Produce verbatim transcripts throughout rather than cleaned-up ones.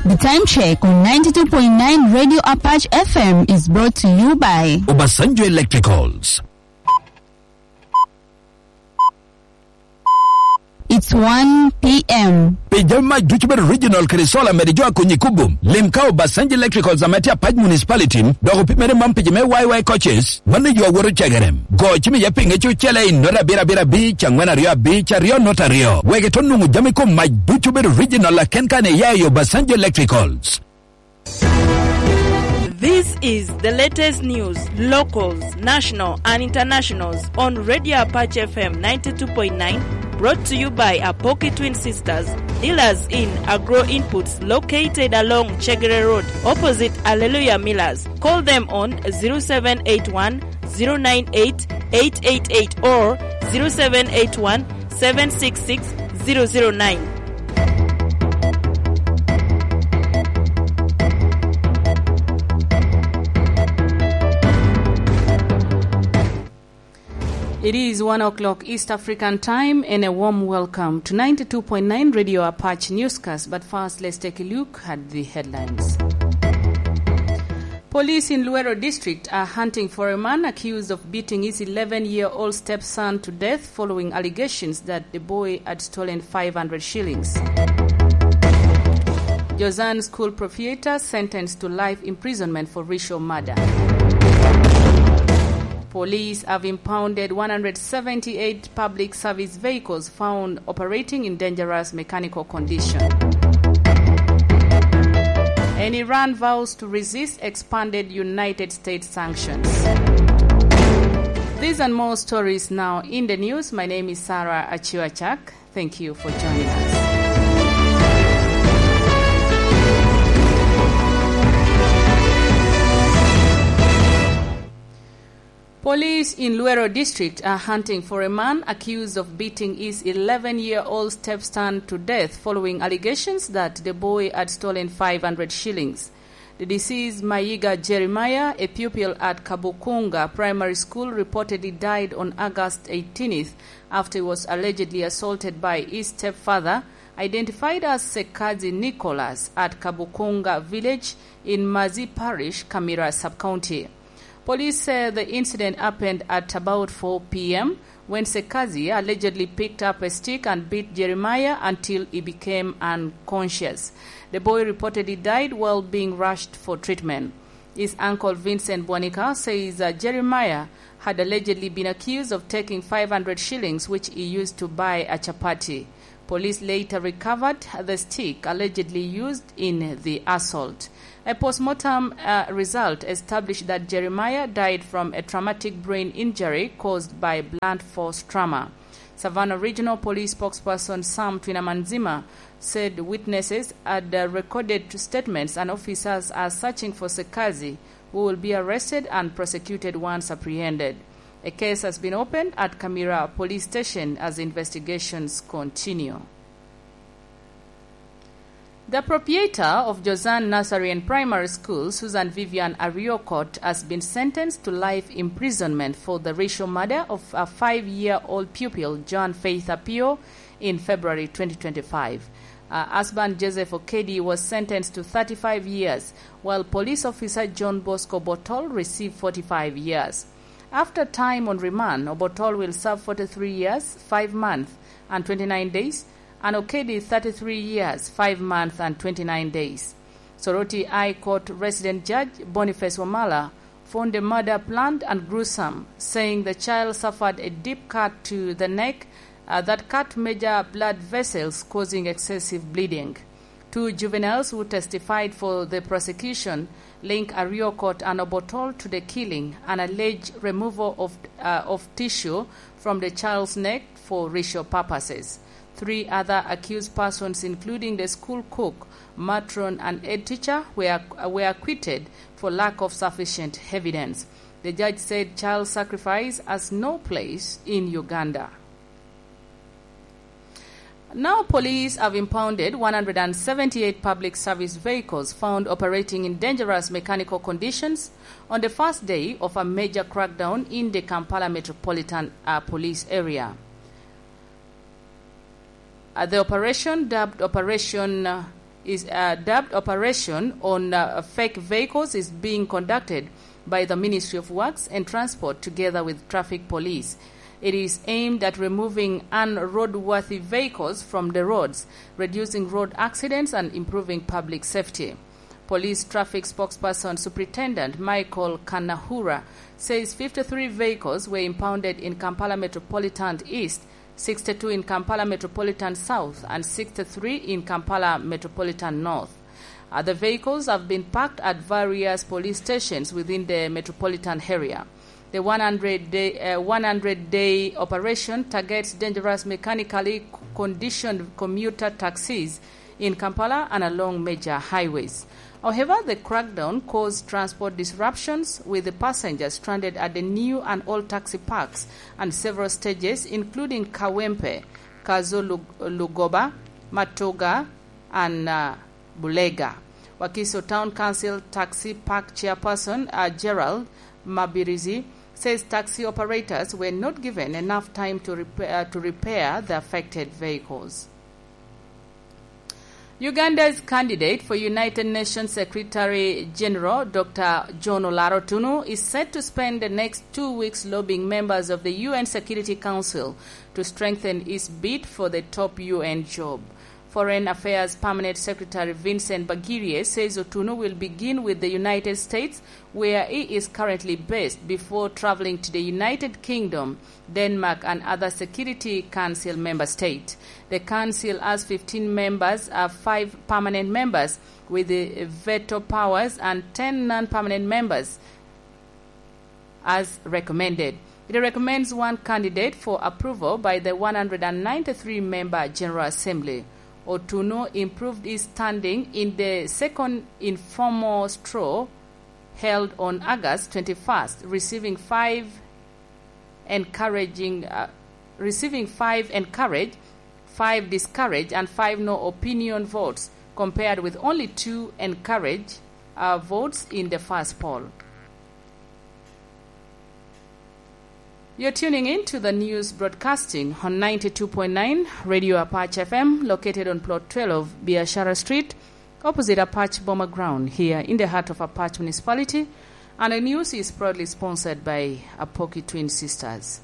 The time check on ninety-two point nine Radio Apache F M is brought to you by Obasanjo Electricals. It's one p.m. Pi jami mac ducu bedo original kede solar mede jo akonyi kubo. Lim ka Obasanjo Electricals ame tye Apac Municipality, dok opimere man pi jo me Y Y coaches, mano yo awoto cegere. Go cim iye pinge cucele i nota abiro abiro abic, angwen aryo abic, aryo nota aryo. Wek ito nwoŋo jami kom mac ducu bedo original aken kan iya i Obasanjo Electricals. This is the latest news, locals, national and internationals on Radio Apache F M ninety-two point nine, brought to you by Apoki Twin Sisters, dealers in agro inputs located along Chegere Road, opposite Alleluia Millers. Call them on zero seven eight one, zero nine eight, eight eight eight or zero seven eight one, seven six six, zero zero nine. It is one o'clock East African time, and a warm welcome to ninety-two point nine Radio Apache Newscast. But first, let's take a look at the headlines. Police in Luweero District are hunting for a man accused of beating his eleven-year-old stepson to death following allegations that the boy had stolen five hundred shillings. Jozan school proprietor sentenced to life imprisonment for racial murder. Police have impounded one hundred seventy-eight public service vehicles found operating in dangerous mechanical condition. And Iran vows to resist expanded United States sanctions. These and more stories now in the news. My name is Sarah Achiwachak. Thank you for joining us. Police in Luweero District are hunting for a man accused of beating his eleven-year-old stepson to death following allegations that the boy had stolen five hundred shillings. The deceased, Mayiga Jeremiah, a pupil at Kabukunga Primary School, reportedly died on August eighteenth after he was allegedly assaulted by his stepfather, identified as Sekazi Nicholas, at Kabukunga village in Mazi Parish, Kamira Sub-County. Police say the incident happened at about four p.m. when Sekazi allegedly picked up a stick and beat Jeremiah until he became unconscious. The boy reportedly died while being rushed for treatment. His uncle, Vincent Bwanika, says that Jeremiah had allegedly been accused of taking five hundred shillings, which he used to buy a chapati. Police later recovered the stick allegedly used in the assault. A postmortem, uh, result established that Jeremiah died from a traumatic brain injury caused by blunt force trauma. Savannah Regional Police spokesperson Sam Twinamanzima said witnesses had, uh, recorded statements and officers are searching for Sekazi, who will be arrested and prosecuted once apprehended. A case has been opened at Kamira Police Station as investigations continue. The proprietor of Jozan Nursery and Primary School, Susan Vivian Ariokot, has been sentenced to life imprisonment for the racial murder of a five-year-old pupil, John Faith Apio, in February twenty twenty-five. Her husband, Joseph Okedi, was sentenced to thirty-five years, while police officer John Bosco Botol received forty-five years. After time on remand, Obotol will serve forty-three years, five months, and twenty-nine days, and Okedi thirty-three years, five months, and twenty-nine days. Soroti High Court Resident Judge Boniface Wamala found the murder planned and gruesome, saying the child suffered a deep cut to the neck, uh, that cut major blood vessels, causing excessive bleeding. Two juveniles who testified for the prosecution link Ariokot and Obotol to the killing and alleged removal of, uh, of tissue from the child's neck for racial purposes. Three other accused persons, including the school cook, matron, and head teacher, were, were acquitted for lack of sufficient evidence. The judge said child sacrifice has no place in Uganda. Now, police have impounded one hundred and seventy-eight public service vehicles found operating in dangerous mechanical conditions on the first day of a major crackdown in the Kampala Metropolitan, uh, Police Area. Uh, the operation, dubbed Operation, uh, is, uh, dubbed operation on, uh, fake vehicles is being conducted by the Ministry of Works and Transport together with traffic police. It is aimed at removing unroadworthy vehicles from the roads, reducing road accidents and improving public safety. Police traffic spokesperson Superintendent Michael Kanahura says fifty-three vehicles were impounded in Kampala Metropolitan East, sixty-two in Kampala Metropolitan South, and sixty-three in Kampala Metropolitan North. Other vehicles have been parked at various police stations within the metropolitan area. The one hundred day, uh, one hundred day operation targets dangerous mechanically c-, conditioned commuter taxis in Kampala and along major highways. However, the crackdown caused transport disruptions, with the passengers stranded at the new and old taxi parks and several stages, including Kawempe, Kazo Lug-, Lugoba, Matoga, and, uh, Bulega. Wakiso Town Council Taxi Park Chairperson, uh, Gerald Mabirizi, says taxi operators were not given enough time to repair, uh, to repair the affected vehicles. Uganda's candidate for United Nations Secretary General, Doctor John Olaro Tunu, is set to spend the next two weeks lobbying members of the U N Security Council to strengthen its bid for the top U N job. Foreign Affairs Permanent Secretary Vincent Bagirie says Otunu will begin with the United States, where he is currently based, before traveling to the United Kingdom, Denmark, and other Security Council member states. The council has fifteen members, uh, five permanent members with the veto powers and ten non-permanent members as recommended. It recommends one candidate for approval by the one hundred ninety-three member General Assembly. Otunu improved his standing in the second informal straw held on August twenty-first, receiving five encouraging, uh, receiving five encouraged, five discouraged, and five no opinion votes, compared with only two encouraged, uh, votes in the first poll. You're tuning in to the news broadcasting on ninety-two point nine Radio Apache F M, located on Plot twelve, Biashara Street, opposite Apache Boma Ground, here in the heart of Apache Municipality. And the news is proudly sponsored by Apoki Twin Sisters.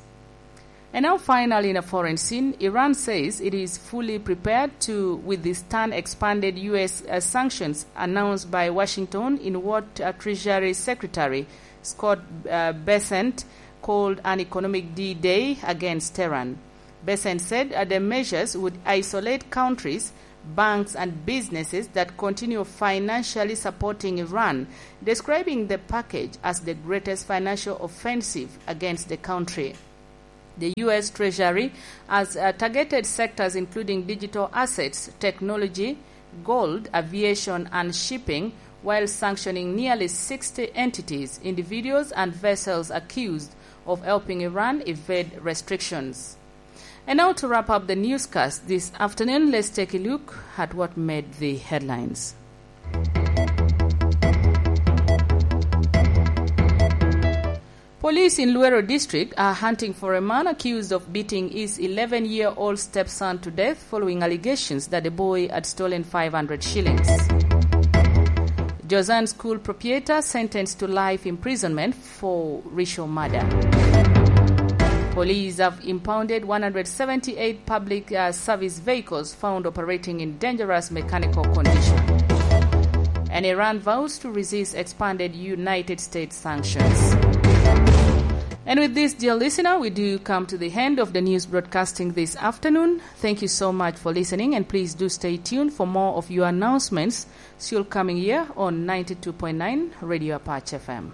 And now, finally, in a foreign scene, Iran says it is fully prepared to withstand expanded U S, uh, sanctions announced by Washington in what, uh, Treasury Secretary Scott, uh, Bessent called an economic D-Day against Tehran. Bessent said, uh, the measures would isolate countries, banks, and businesses that continue financially supporting Iran, describing the package as the greatest financial offensive against the country. The U S Treasury has, uh, targeted sectors including digital assets, technology, gold, aviation, and shipping, while sanctioning nearly sixty entities, individuals, and vessels accused of helping Iran evade restrictions. And now, to wrap up the newscast this afternoon, let's take a look at what made the headlines. Police in Luweero District are hunting for a man accused of beating his eleven-year-old stepson to death following allegations that the boy had stolen five hundred shillings. Josan School proprietor sentenced to life imprisonment for racial murder. Police have impounded one hundred seventy-eight public, uh, service vehicles found operating in dangerous mechanical condition. And Iran vows to resist expanded United States sanctions. And with this, dear listener, we do come to the end of the news broadcasting this afternoon. Thank you so much for listening, and please do stay tuned for more of your announcements still coming here on ninety-two point nine Radio Apache F M.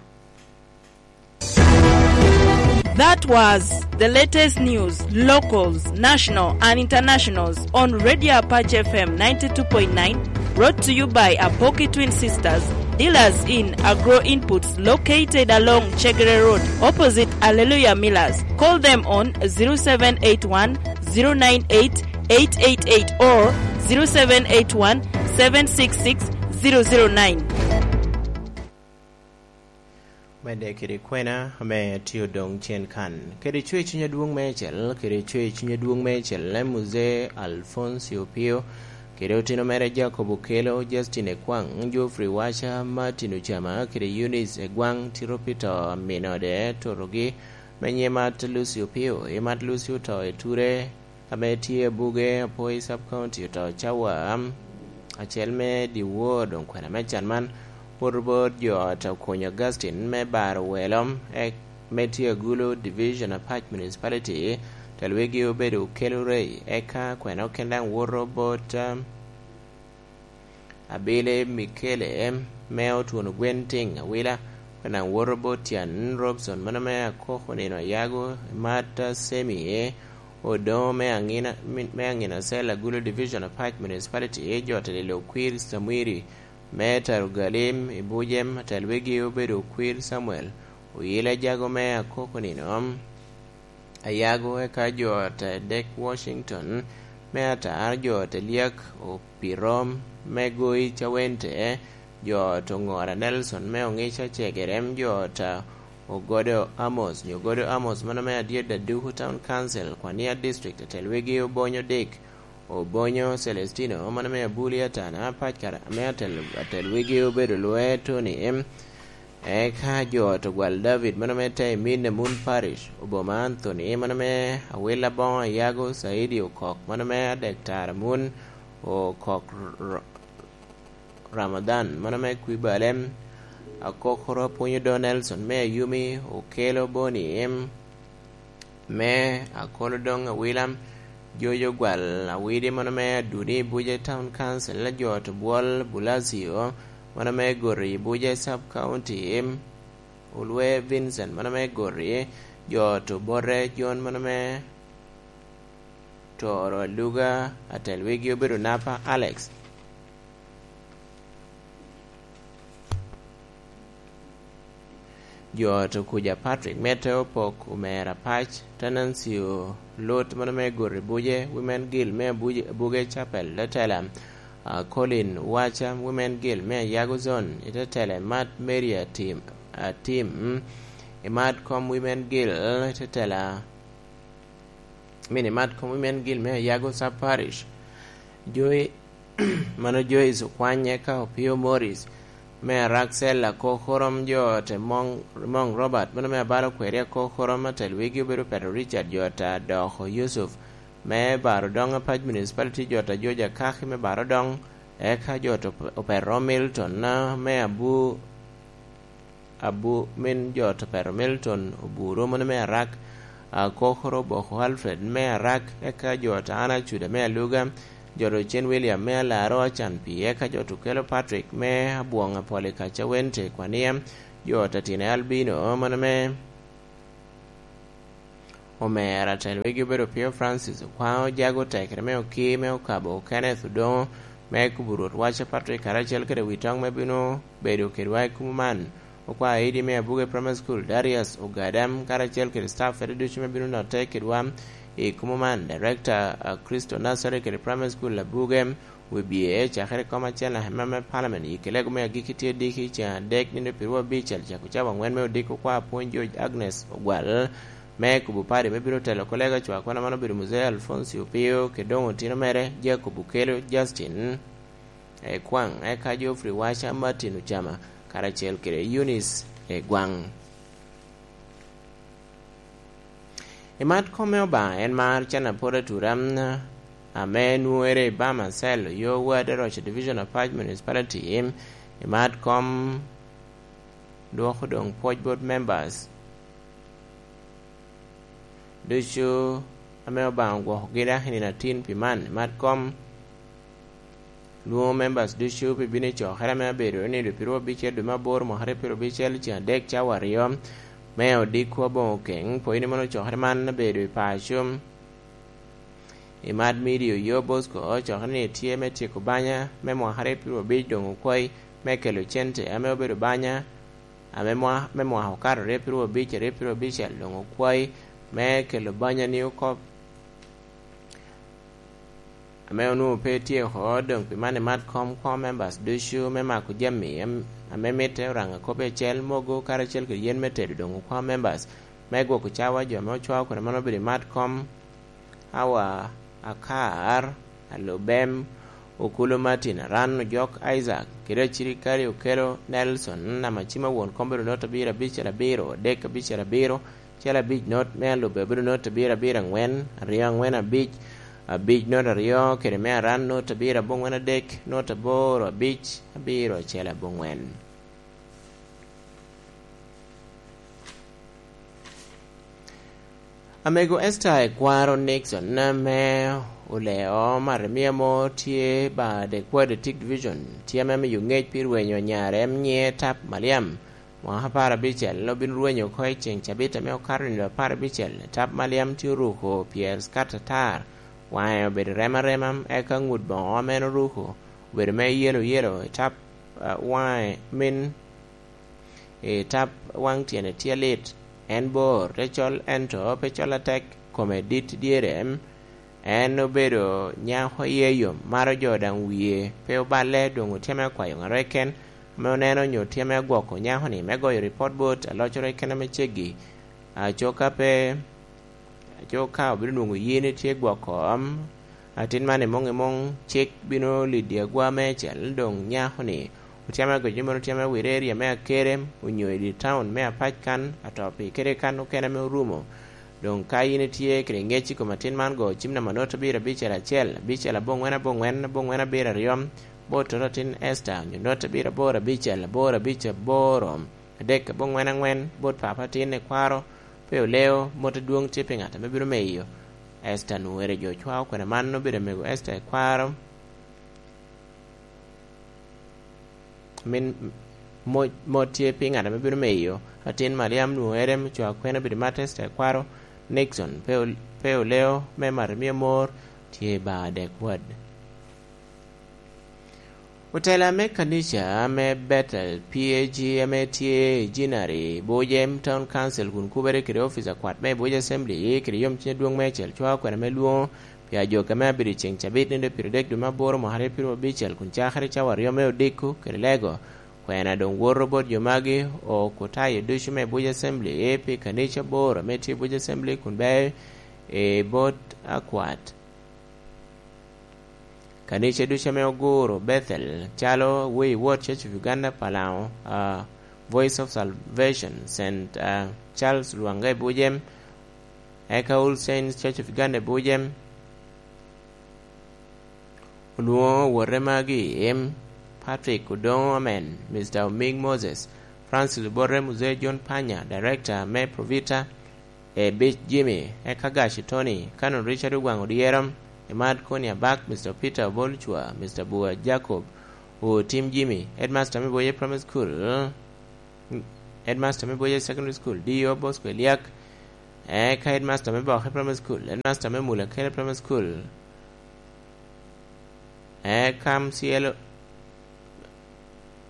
That was the latest news, locals, national and internationals, on Radio Apache F M ninety-two point nine, brought to you by Apoki Twin Sisters, dealers in agro inputs, located along Chegere Road, opposite Alleluia Millers. Call them on zero seven eight one, zero nine eight, eight eight eight or zero seven eight one, seven six six, zero zero nine. Medde kede kwena ame tye odoŋ cen kan, kede cwer cuny adwoŋ meicel, kede cwer cuny adwoŋ meicel, Muzee Alfonso Opio, kede otino mere Jacob Okello, Justin Ekwaŋ, Geoffrey Wacha, Martin Ocama kede Eunice Egwaŋ tito pi to a minode totogi, me nyimat Lucy Opio. Imat Lucy oto i ture ame tye abuge apo i sub county oto cawa acel me dyewor. Doŋ kwena me can man woto bot jo ot Okonyo Augustine me baro welo, me tye Agulu Division Apac Municipality, tel wigi obedo Okello Ray, eka kwena oken daŋ woto bot, um, Abili Mikele me Otwon Ogwen Tiŋ Awila, kwena daŋ woto bot Tyan Robson, mano me Akoko Nino Ayago, Martha Semi Odoŋo me Aŋina, me Aŋina Cell, Agulu Division Apac Municipality, jo ot Lilo Okwir Samwiri, me Taro Galim i Bujem, tel wigi obedo Okwir Samuel Oyile Jago me Akoko Nino Ayago, eka jo ot Dek Washington, me Atar, jo ot Liak Opirom, me Goi Cawente, jo ot Oŋora Nelson, me Oŋica Cegerem, jo ot Ogodo Amos, nyo Ogodo Amos, mano me Adyet Aduku Town Council, Kwania District, tel wigi Obonyo Dick, Obonyo Celestino, mano me Abuli Atana, pac kara ame atel, atel wigi obedo Lwe Tony, eka jo ot Ogwal David, mano me Taimin Amun Parish, Oboma Anthony, mano me Awila Boŋo Ayago, Saidi Okok, mano me Adek Tara Mun, Okok R-, Ramadhan, mano me Kwibalem, Akokoro Apwonyo Do Nelson, me Ayumi, Okello Boni, me Akolo Doŋ Awila, Jojo Gwal Awidi, mano me Adudi Buja Town Council, jo ot Bwol Bulasio, mano me Gori Buja Sub County, Olwe Vincent, mano me Gori, jo ot Obote John, mano me Toro Aluga, atel wigi obedo Napa Alex. Jo ot Okuja Patrick, Mete Opok, Omera Pac, Tenancio Lut, mano me Gori Buje, Women Guild me Abuje-, Abuge Chapel, Tetela, ah, Colin Wacha, Women Guild me Ayago Zone, i Tetela, Mat Mary Atim, Atim, i Mat Kom Women Guild, Tetela, mini Mat Kom Women Guild me Ayago Sub Parish. Joy, mano Joyce Okwany, eka Opio Morris, me Araksel Akokorom, jo ot Mong, Mong Robert, mano me Abalo Kweri Akokorom, atel wigi obedo Pedro Richard, jo ot Adoko Yusuf, me Baro Doŋ Apac Municipality, jo ot Ajoja Kaki me Baro Doŋ, eka jo ot Op-, Opero Milton, ah, me Abu, Abu, min jo ot Opero Milton Oburu, mano me Arak, Akokoro Boko Alfred me Arak, eka jo ot Ana Cuda me Aluga, jo ot Ocen William me Alaro Acan Pi, eka jo ot Okello Patrick me Abwoŋ Apoli Kaca Wente Kwania, jo ot Atine Albino, mano me Omera, atel wigi obedo Pio Francis Okwaŋ, Ojago Tekere me Oki, me Okabo Kenneth Odoŋo, me Kubu Rwot Waca Patrick, karacel kede Witoŋ me bino bedo kedwa i kumo man. Okwa Aidi me Abuge Primary School, Darius Ogadam, karacel kede staff fede ducu me bino notte kedwa i kumo man, Director, ah, Crystal Nursery kede Primary School Abuge, Wibye, cakere kom acel na hema me Parliament, i kelego me agikki tye diki ceŋ adek nino pirwa abicel, cako cawa aŋwen me odiko kwa apwony George Agnes Ogwal, me kubo pari me bino telo kolega cwa kwana man obedo Muzee Alfonsi Opio, kede doŋ otino mere Jacob Okello, Justin Ekwaŋ, eka Geoffrey Wacha, Martin Ocama, karacel kede Eunice Egwaŋ. I mat kom me Obaŋa en mar can apol atura, ame nwoŋere i Bama Cell, yo Wad Roca Division of Pac Municipality. I mat kom dwoko doŋ pwoc bot members ducu ame Obaŋa ogwokogi dok i nino atin pi man. I mat kom lwoŋo members ducu pi bino i cokere ame abedo i nino pirwa abicel dwe me aboro mwaka aryo pirwa abicel ceŋ adek cawa aryo me odiko aboŋo keŋ. Pwony ni mono cokere man abedo i paco. I mat midio yo Bosco, cokere ni tye me tyeko banya me mwaka aryo pirwa abic doŋ okwayi me kelo cente ame obedo banya ame mwa-, me mwaka okato aryo pirwa abic, aryo pirwa abicel doŋ okwayi me kelo banya ni okop. Ame onwoŋo pe tye oko, doŋ pi man imat kom kwoŋo members ducu me mako jami am-, ame mitte Oraŋo akop i acel, mogo karacel kede yen me tedo doŋ okwaŋ members me gwoko cawa jo ame ocwao kede mano obedo imat kom awa akar, alubem, Okulu Martin, Aran Ojok Isaac, kede acirikale Okelo Nelson, Namacima won kom bedo not abiro abicel abiro, adek abicel abiro, acel abic not, me alubbe bedo not abiro abiro angwen, aryo angwen abic, abic not aryo, kede me Aran not abiro aboŋwen adek, not aboro abic, abiro acel aboŋwen. Amego Esther Ekwaro Nixon ame oleo Maremia mo tye ba Dekwar District Division, tye ame miyo ngec pi rwenyo nyare, em nyiŋe Tap Maliam. Mwaka apar abicel obin rwenyo oko i ceŋ cabit ame okato nino apar abicel. Tap Maliam tye oruko pyer skat atar, waŋe obedo rem arema, eka ŋut boŋo ame en oruko obedo me yelo yelo i tap, ah, waŋe min i tap waŋ tyene tye lit. En bor, te col, ento pe col atek, kome dit dyere. En obedo nyako iye yom, maro jo daŋ wie pe oballe, doŋ otyeme akwayo ŋat keken ame oneno onyo otyeme agwoko nyako-ni me goyo ripot bot alocere keken ame ceggi. Aco ka pe Aco ka obino nwoŋo yin itye gwoko, am, atin man i muŋ i muŋ, cik bino liddi agwa meicel, doŋ nyako-ni otyame agoc ni mano otyame wire eria me Akerem, onyo i dye taun me Apac kan, atoo pi kede kan okene ame orumo. Doŋ ka yin itye kede ŋec i kom atin man, go cim namba not abiro abicel acel, abicel aboŋwen aboŋwen, aboŋwen abiro aryo, bot toto atin Esther, onyo not abiro aboro abicel, aboro abic aboro, adek aboŋwen aŋwen, bot papa atin Ekwaro, pe oleo, mot adwoŋ tye pi ŋat ame bino meyo. Esther Nuere jo cwao kwene man obedo amego Esther Ekwaro. Min, mo-, mot tye pi ŋat ame bino meyo. Atin Mariam Nuere me cwao kwene obedo mat Esther Ekwaro. Nixon pe ol-, pe oleo me mato mio mor tye ba adek wad. Otela me kanica me Bethel P A G ame tye i Jinari, Bujem Town Council, kun kubere kede ofice akwat me Buja Assembly, kede yomcuny adwoŋ meicel cwao kwena me lwoŋo pi ajogi ame abedo i ceŋ cabit nino pyeradek dwe me aboro mwaka aryo pyeraryo abicel, kun cakere cawa aryo me odiko kede lego. Kwena doŋ woto bot jo magi, Okutayo ducu me Buja Assembly, pi kanica aboro ame tye i Buja Assembly, kun beo i bot akwat. Kanica ducu ame oguro Bethel, calo Way Word Church of Uganda Palaŋo, ah, Voice of Salvation, Saint, ah, Charles Lwanga i Bujem, eka All Saints Church of Uganda i Bujem, olwoŋo owote magi, em, Patrick Odoŋo Amen, Mister Oming Moses, Francis Obote, Muzee John Panya, Director me Provita, Ebic Jimmy, eka Gaci Tony, Canon Richard Ogwaŋ Odyero, Emad Koni Abak, Mister Peter Obolcwa, Mister Bua Jacob, Otim Jimmy, Headmaster me Boye Primary School, Headmaster me Boye Secondary School, D O Bosco Eliak, eka Headmaster me Boke Primary School, Headmaster me Mula Kele Primary School, eka M C L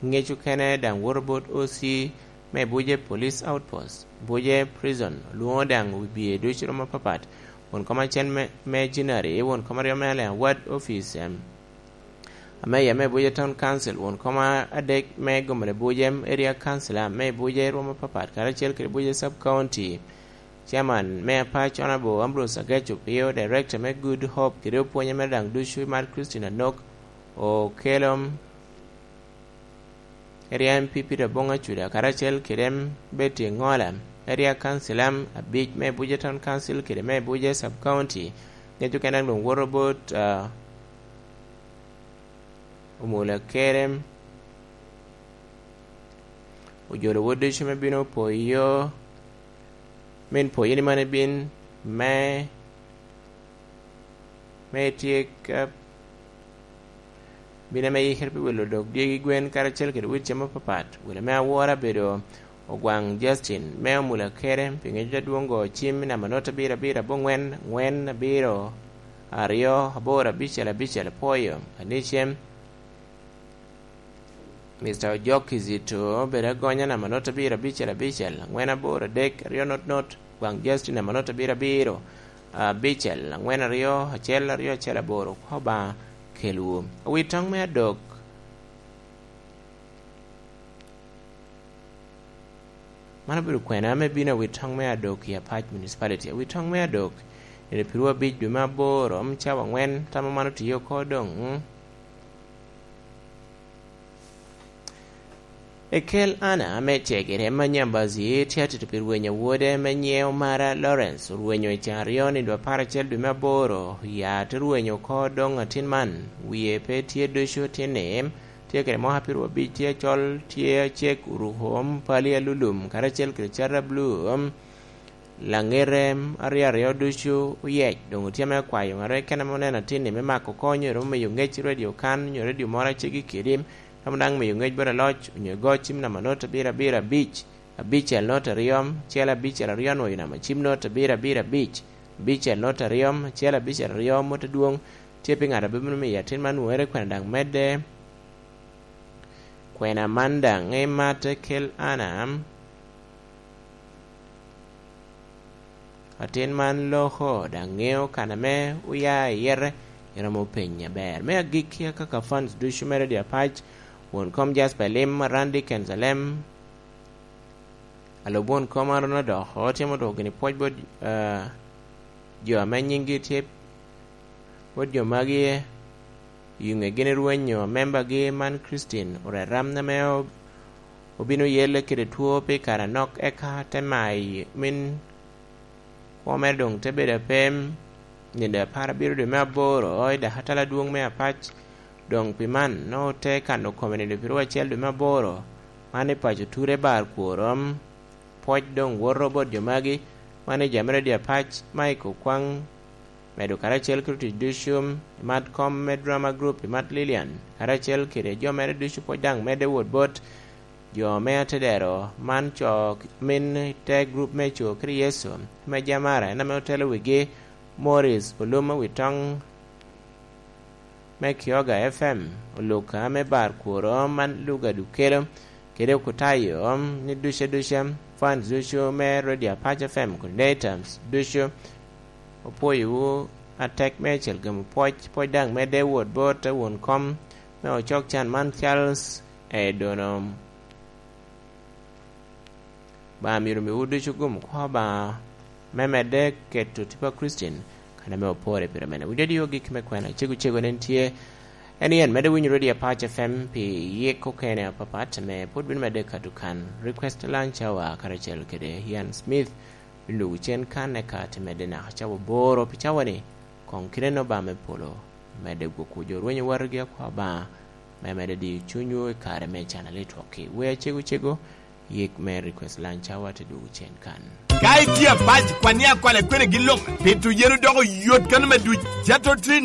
ŋec okene daŋ woto bot O C me Buje Police Outpost, Buje Prison, olwoŋo daŋ wibye ducu romo apapat, won kom acel me, me Jinari, won kom aryo me Alliance Ward Office, em, Ameya me Buje Town Council, won kom adek me Gomene Buje, em, Area Councilor me Buje romo apapat, karacel kede Buje Sub County, Chairman me Apac Honorable Ambrose Agec Opio, Director me Good Hope, kede opwonye mere daŋ ducu i mar Christine Anok, Okelom, Area M P Peter Bong Acuda, karacel kede M Betty Ŋola, Area Councilor abic me Abuja Town Council kede me Abuja Sub County, ŋec okene daŋ doŋ woto bot, ah, Omula Kerem, ojolo wot ducu me bino poyo, min poyo ni man ibin me me tye ka bino ame yikere pi wilo dok dyegi gwen karacel kede wit cem apapat. Wele me awora bedo Ogwaŋ Justin me Omula Kere, pi ŋec adwoŋ go cim i namba not abiro abiro aboŋwen, ŋwen abiro, aryo, aboro abicel abicel, apwoyo, anicem. Mister Ojok Kizito bedo agonya namba not abiro abicel abicel, angwen aboro adek, aryo not not, Gwaŋ Justin namba not abiro abiro, abicel, angwen aryo, acel aryo, acel aboro. Kwa Obaŋa kelwu. Awitoŋ me adok. Man obedo kwena ame bino awitoŋ me adok i Apac Municipality. Awitoŋ me adok, nino pirwa abic dwe me aboro, om cawa angwen, tamo man otiyo oko doŋ, mm. Ekel Ana ame cegere ma Nyambazi tye atito pi rwenyo wode me nyiŋe Omara Lawrence, orwenyo i can aryo nino apar acel dwe me aboro, ya te rwenyo oko doŋ atin man, wie pe tye ducu, tin-ni tye kede mwaka pirwa abic, tye acol, tye acek, oruko pali alulum karacel kede cata blu. Laŋete aryo aryo ducu oyec, doŋ otye ame okwayo ŋat keken ame oneno atin-ni me mako oko, onyo rom miyo ŋec i redio kan, onyo redio moro a ceggi kedi, rom daŋ miyo ŋec bot aloc, onyo igo cim namba not abiro abiro abic, abicel not aryo, acel abicel aryo, onyo namba cim not abiro abiro abic, abicel not aryo, acel abicel aryo, mot adwoŋ tye pi ŋat a bino miyo atin man nwoŋere kwena daŋ medde. Kwena man daŋ ematte kel Ana. Atin man loko, daŋ ŋeo kan ame oya i yete, iromo penye aber. Me agikki, akaka fans ducu me Radio Apac, won kom Jasper Lim, Randy Kenzalem, alub won kom Aruna Doko, tye motuko gini pwoc bot, ah, jo ame nyinggi tye bot jo magi, i ŋe gin rwenyo membagi man Christine Oreram ame ob-, obino yelle kede two pi kare anok, eka te mayi min kwo mere doŋ te bedo apem nino apar abiro dwe me aboro i dakatala adwoŋ me Apac. Doŋ pi man, nwoŋo te kano kome nino pirwa acel dwe me aboro, man i paco Ture bar kworo. Pwoc doŋ woto bot jo magi, man i jami Radio Apac, Mike Okwaŋ, medo karacel kede otic ducu, imat kom me drama group, imat Lilian, karacel kede jo mere ducu, pwoc daŋ medde wot bot jo me atedero, man co min te group me co kede Yecu, me Jamara, en ame otelo wigi, Morris Olum Awitoŋ, me Kioga F M, Oluka me bar kworo man Luga Dukelo, kede Okutayo, ni duce duce, fans ducu me Radio Apac F M coordinators ducu, opwoyowu atek meicel gamo pwoc, pwoc daŋ medde wot bot won kom me ocok can man Charles Edono. Obaŋa myero omiwu ducu gum kwo Obaŋa me medde keto tipo a Kricin, kan ame opore pire mene. Winyo adiyo gik me kwena, cego cego nen tye, en yen medde winyo Radio Apac F M pi yik okene apapat, ame pwod bino medde kato kan. Request Lunch Hour karacel kede Ian Smith, bino dwogo cen kan, eka te medde naka cawa aboro pi cawa-ni, koŋ kite no Obaŋa me polo medde gwokwu jo rwenyo watgi akwa Obaŋa, me medde diyo cunywu i kare me can alitwok-ki. Wea cego cego, yik me Request Lunch Hour te dwogo cen kan. Ka itye apac, kwan ni akwale kwene gin lok, pito yen odoko yot kano me duc. Jato Trin